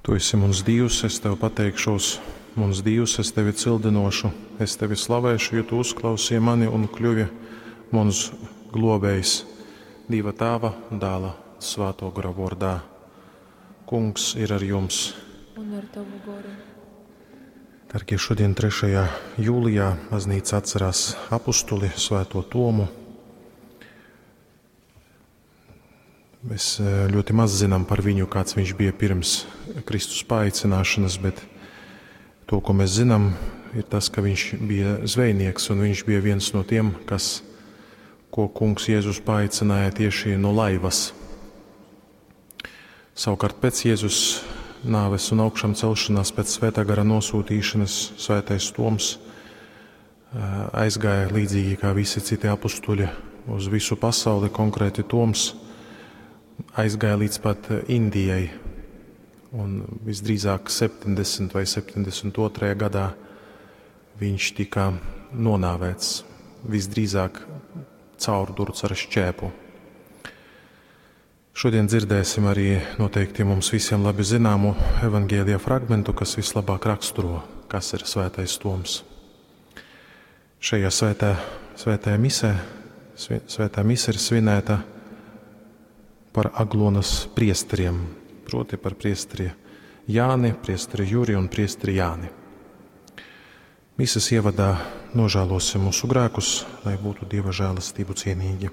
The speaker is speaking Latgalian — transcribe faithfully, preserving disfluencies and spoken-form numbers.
Tu esi muns Dīvs, es tev pateikšos, muns Dīvs, es tevi cildynōšu, es tevi slavēšu, jo tu uzklausīji mani un kļuvi muns glōbējs. Dīva Tāva, Dāla, Svātō Gora vōrdā. Kungs ir ar jums. Un ar tavu goru. Dargie, šodien trešajā jūlijā baznīca atcerās apustuli Svēto Tomu. Mēs eh, ļoti maz zinām par viņu, kāds viņš bija pirms Kristus paaicināšanas, bet to, ko mēs zinām, ir tas, ka viņš bija zvejnieks un viņš bija viens no tiem, kas, ko kungs Jēzus paaicināja tieši no laivas. Savukārt pēc Jēzus nāves un augšām celšanās, pēc Svētā gara nosūtīšanas, Svētais Toms eh, aizgāja līdzīgi kā visi citi apustuļi uz visu pasauli, konkrēti Toms aizgāja līdz pat Indijai, un visdrīzāk septiņdesmit vai septiņdesmit otrajā gadā viņš tika nonāvēts, visdrīzāk caurdurts ar šķēpu. Šodien dzirdēsim arī noteikti mums visiem labi zināmu evaņģēlija fragmentu, kas vislabāk raksturo, kas ir Svētais Toms. Šajā svētā, svētajā misē, svi-, svētā mise ir svinēta par Aglonas priesteriem, proti par priesteri Jāni, priesteri Juri un priesteri Jāni. Mises ievadā nožēlosim mūsu grēkus, lai būtu Dieva žēlastību cienīgi.